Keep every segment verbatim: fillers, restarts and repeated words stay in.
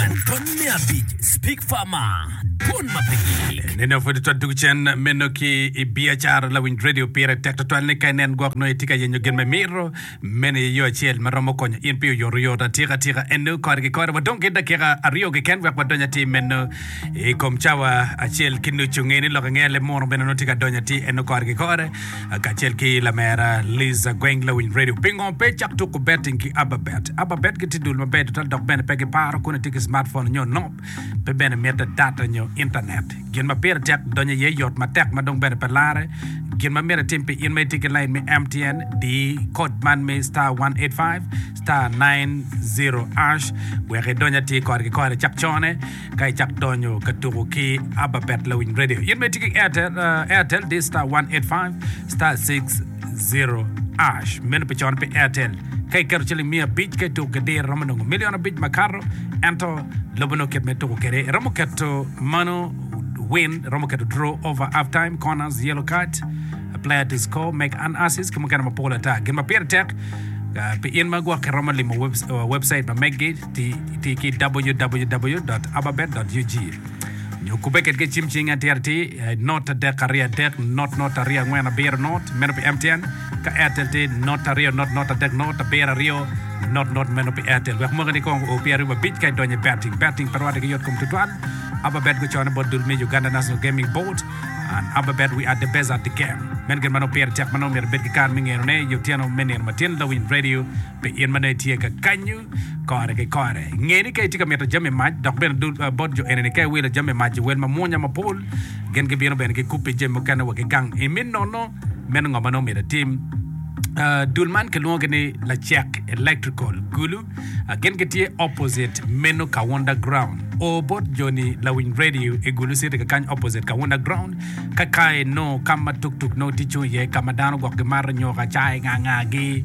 Angwen tony me abic Speak Farmer Dwon ma pe gik. Nene pud twal tugo cen meno ki i biacara lawiny radio pire tek twatwal ni ka inen gwok nongo itye ka yenyo gin ma imito meno aye yo acel ma romo konyo in pi oyotoyot atika tika eno kore ki kore wadong ki dakika aryo keken wek wadony atir meno i kom cawa acel ki nucu nge ni lok angeya lemunu bene nongo tye ka donyo atir eno kore ki kore kacel ki lamera Liza Gweng lawiny radio pingo pe icak tuko betting ki Ababet Ababet gitye dul maber tutwal dok bene pe giparo kun itye ki smartphone nyo nop pe bene mitte data nyo intanet. Gin ma pire tek donyo iye yot matek ma dong bene pe larre. Gin ma myero itim pi in ma itye ki lain me M T N, di kod man me star one eight five star nine zero hash wek idony atir kore ki kore icak cone ka icak donyo ka tuko ki Ababet Lawiny Radio. In ma itye ki Airtel, uh, Airtel di star one eight five star six zero hash. Meno pi cone pi Airtel. Ka iketo ciling miya abic ka ituko ki diro iromo nongo milion abic makato ento lobo nongo kit ma ituko kwede iromo keto mano win iromo keto draw over half time corners yellow card a player to score make an assist ki mukene mapol ata gin ma pire tek uh, pi in ma gwok iromo limo web, uh, website ma meggi ti, ti ki w w w dot ababet dot u g nyo kubbe kedgi cim cing atir atir eh, not adek aryo adek not not aryo angwen abiro not meno pi M T N ka Airtel tye not aryo not not adek not abiro aryo not not meno pi Airtel wek mwaka ni kong o pyeraryo abic ka idonyo i betting betting pe rwatte ki yot kom tutwal Ababet gucone bot dul me Uganda National Gaming Board and Ababet, we are the best at the game. Men gin ma nongo pire tek ma nongo myero ibed ki kare me ngenone i otyeno me nino matin lawiny radio pi in ma nongo itye ka kanyu kore ki kore nge ni ka itye ka mito jami mac dok bene dul uh, bot jo enini ka iwilo jami mac i wel mamwonya mapol gin gibino bene gikupi jami mukene wa ki gang imi nono meno ngo ma nongo myero itim. Uh, dul man kilwongogi ni Lacek Electrical Gulu uh, gin gitye opposite meno Kawunda Ground o bot joni lawiny radio i Gulu City kakany opposite Kawunda Ground ka ka inongo ka ma tuktuk nongo tye cung iye ka ma dano gwok gimato nyoka cai ngangagi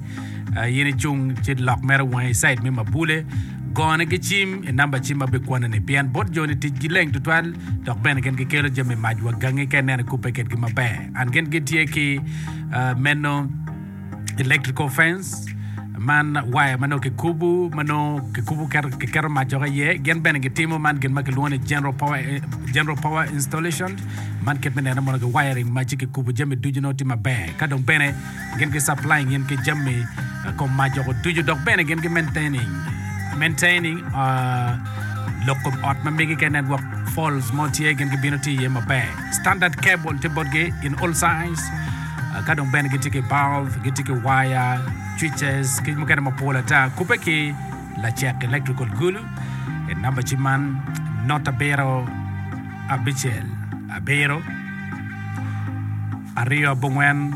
uh, in icung ci lok mere wangi i side me mabule gone ki cim i namba cim ma bikwanoni pien bot joni ticgi leng tutwal dok bene gin gikelo jami mac wa gangi ka ineno ikubbe kedgi maber an gin gitye ki uh, meno electrical fence man waya ma nongo kikubo ma nongo kikubo keto kiketo mac woko iye gin bene gitimo man gin ma kilwongo ni general power, eh, general power installation man kit me neno mono ki wiring ma ci kikubo jami ducu nongo tye maber ka dong bene gin ki supplying in ki jami eh, kom mac woko ducu dok bene gin ki maintaining maintaining uh, lok kom ot ma megi ka network faults mo tye gin gibino tye iye maber standard cable tye botgi in all size. Uh, ka dong bene gitye ki bulb gitye ki wire switches ki mukene mapol ata kubbe ki Lacek Electrical Gulu i namba cim man not abiro abicel abiro aryo abongwen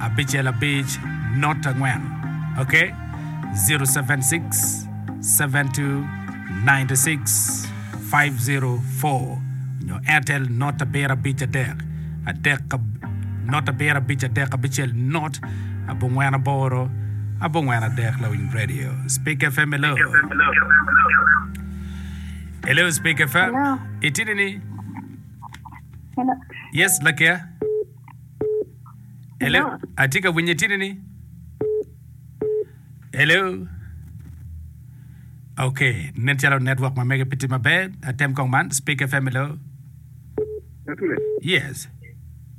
abicel abic not angwen ok zero seven six seven two nine six five zero four nyo Airtel not abiro abic adek adek ab- not abiro abic adek abicel not abongwen aboro abongwen adek. Lawiny Radio Speak F M, hello, hello, Speak F M. Hello. Itini ni Hello. Yes, lakia, hello. Hello. Atye ka winyo itini ni hello. Ok, nen calo network ma mege pe tye maber atem kong man Speak F M, hello. Atule. Yes.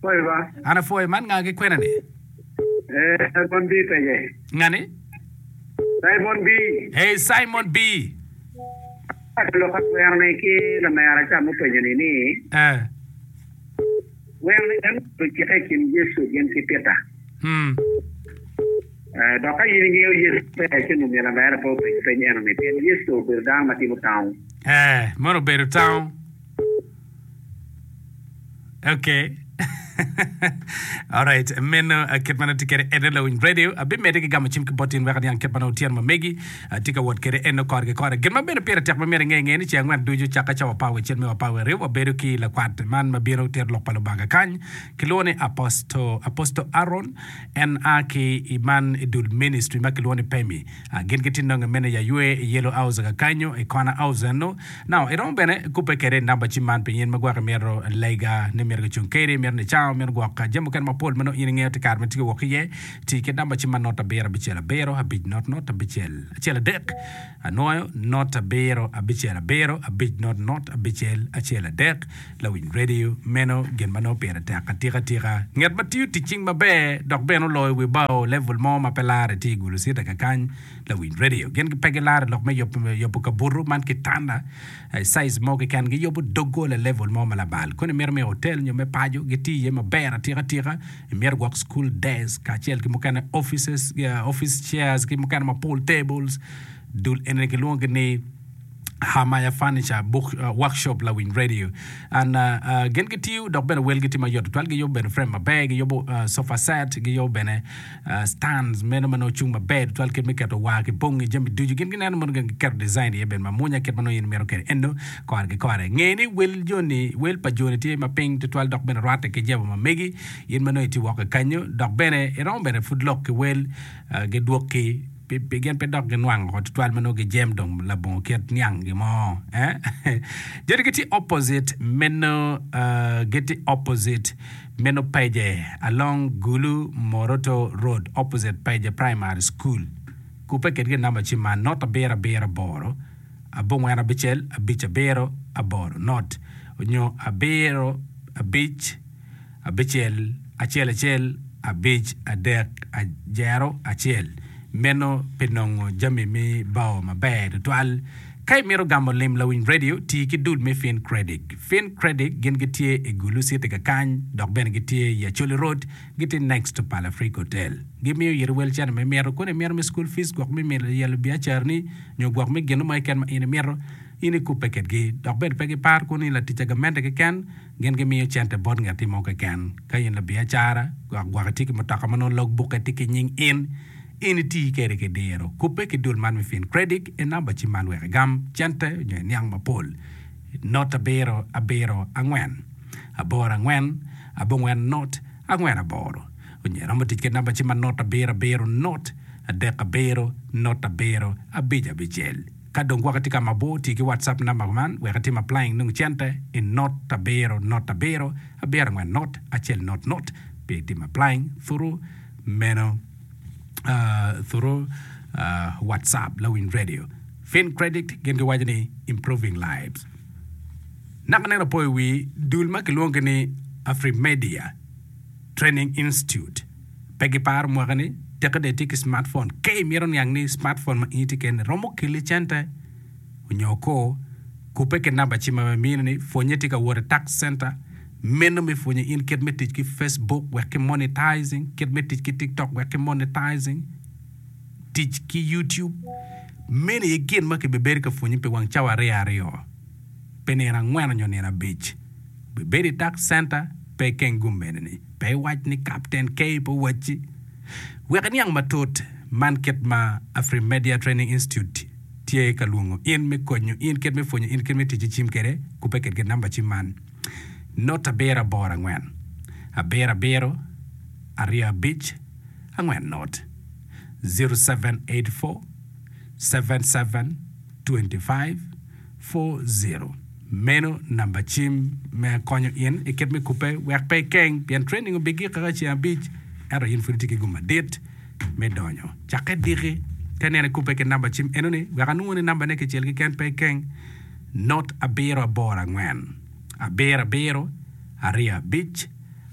Poi ba. An apwoyo man nga ki kwena ni? Eh, Simon B. Pege. Ngani? Simon B. Hey, Simon B. Lok atwero ni ki lamera ca mupenyo ni ni eh wero ni en ocike i kin Yecu gin ki Peter. hmm Eh, dok ka in ingeo Yecu pe ci nongo myero lamera pe openyo peny eno ni pien Yecu obedo dano ma timo tango. Eh, mono obedo town. Okay. Alright, meno uh, kit ma nongo tye kwede eno lawiny radio abimedde ki gamo cim ki bot in wek aniang kit ma nongo otyeno ma megi uh, tye ka wot kwede eno kore ki kore. Gin ma bene pire tek ma myero inge inge ni ceng angwen ducu cakke cawa apar wiye acel me apar wiye aryo wabedo ki lakwat man ma bino tito lok pa Lubanga kany kilwongo ni Apostle Apostle Aaron en a ki i man i dul ministry ma kilwongo ni Pemi. uh, gin gitye nongo mene ya ywe i Yellow House kakanyo i corner house eno. Now iromo bene kubbe kwede i namba cim man pi in ma gwok imito lega ni myero kicung kedi imito ni cang. town, meno gwok jami mukene mapol ma nongo in ingeyo tye kare ma tye ka wok iye. Ti ki namba cim ma not abiro abicel abiro abic not not abicel acel adek anwoyo not abiro abicel abiro abic not not abicel acel adek lawiny radio meno gin ma nongo pire tek atika tika. Nget ma tiyo tic cing maber dok bene oloyo wi bao level mo ma pe lare tye i Gulu City kakany lawiny radio. Gin pe gilaro lok me yubo kabuto man kitanda size mo keken giyubo doggola level mo ma labal. Koni imito me hotel nyo me paco gitiyo iye maber atika atika. Imito gwok school desk kacel ki mukene offices, office chairs ki mukene mapol tables dul eni kilwongogi ni Hamaya Furniture Book uh, Workshop lawiny radio and uh, uh, gin gitiyo dok bene welgi tye mayot tutwal giyubo bene frame maber giyubo uh, sofa set giyubo bene uh, stands meno ma nongo cung maber tutwal kit me keto war ki bongi jami ducu gin gineno mono gin giketo design iye bene mamwonya kit ma nongo in imito kwede eno kore ki kore nge ni wel joni wel pa joni tye ma piny tutwal dok bene rwatte ki jebo ma megi in ma nongo itye woko kanyo dok bene iromo bene pud lok ki wel uh, gidwokki pi gin pe dok ginwango oko tutwal ma nongo gijem dong labongo kit niang gimo eh? Joni gitye opposite meno uh, gitye opposite meno Peje along Gulu Moroto Road opposite Peje Primary School kupe kedgi namba cim man not abiro abiro aboro abongwen abicel abic abiro aboro not onyo abiro abic abicel acel acel abic adek ajero acel meno pi nongo jami me bao maber tutwal. Ka imito gamo lim lawiny radio ti ki dul me Fin Credit. Fin Credit gin gitye i Gulu City kakany dok bene gitye i Acholi Road gitye next to Palafric Hotel. Gimiyo yiri wel cene ma imito koni imito me school fees gwok me yelo biacarani nyo gwok me gino mo keken ma in imito in ikupe kedgi dok bene pe giparo kuni latic a gamente keken gin gimiyo cente bot ngati mo keken ka in labiacara gwok gwok itye ki mutoka ma nongo logbukke tye ki nying in in iti kede ki diro kupe ki dul man me Fin Credit e namba cim man wek igam cente nyo iniang mapol not abiro abiro angwen aboro angwen abongwen not angwen aboro onyo iromo tic ki namba cim ma not abiro abiro not adek abiro not abiro abic abicel ka dong gwok itye ka mabor ti ki WhatsApp namba man wek itim applying nong cente i not abiro not abiro abiro angwen not acel not not pi tim applying through meno uh, through uh, WhatsApp lawiny radio. Fin Credit gin giwaco ni improving lives. Naka neno apoyo wi dul ma kilwongo ni Afrimedia Training Institute pe giparo mwaka ni teke de itye ki smartphone ke imito niang ni smartphone ma in itye kene romo keli cente onyo ko kupe ki namba cim ma mini ni pwonye tye ka wot i tax center meno me pwonyo in kit me tic ki Facebook wek ki monetizing kit me tic ki TikTok wek ki monetizing tic ki YouTube meno aye gin ma kibibedo ka pwonyi pi wang cawa aryo aryo pi nino angwen onyo nino abic bibedo i tax center pe ikeng gum mene ni pe iwac ni Captain K pe owacci wek iniang matut man kit ma Afrimedia Training Institute tye ka lwongo in me konyo in kit me pwonyo in kit me tic ki cim kede kupe kedgi namba cim man not abiro aboro angwen abiro abiro aryo abic angwen not zero seven eight four seven seven twenty five four zero meno namba cim me konyo in i kit me kupe wek pe ikeng pien training obigik kaka ceng abic ento in pud itye ki gum madit me donyo cakke diki ka ineno ikupe ki namba cim enoni wek anwongo ni nambane kicel keken pe ikeng not abiro aboro angwen abiro abiro aryo abic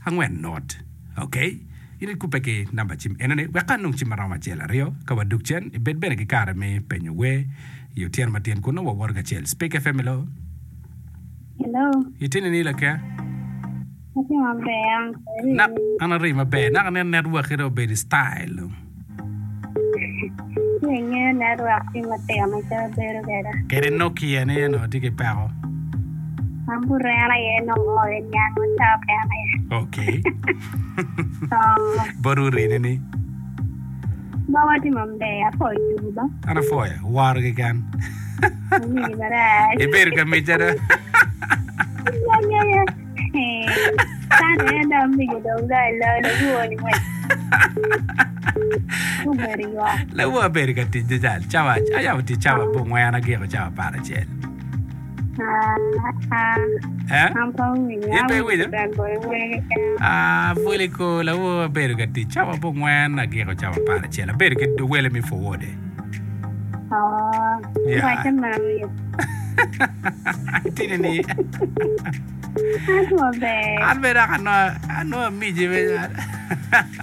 angwen not okay in ikupe ki namba cim enoni wek ka anong cim maromo acel aryo ka wadug cen ibed bene ki kare me penyo wer i otyeno matin kun nongo wawoto kacel Speak F M hello. Hello. Itye ni lake? Atye maber, an kede. Na, an ari maber. Naka nen network ito obedo style. Ki ingeyo network tye matino calo bedo kede. Kede Nokia ni eno tye ki peko. An buren aye nongo oyo niango cawa kene aye. Okay. Oh. Bot urini ni. Bawa tye maber, apwoyo tugo ba. An apwoyo, woro keken. Amini marac. Ibedo ka mica do. Ya, ya, ya. Eh, Kane en dong amigo dong ga ilo lawo ni wec. Obedo ywak. Lawo abedo ka tic jajal. Cawa, ayabo tic cawa abongwen agiko cawa apar acel. Ah, ah, Eh? an pe awinyo. In pe iwinyo? Bad boy wer keken. Ah, pwoli ko lawo abedo ka tic cawa abongwen agiko cawa apar acel abedo ki wele mi forward Oh, Yeah. waco meno. Itini ni An maber. an bene dok anongo anongo amici bene.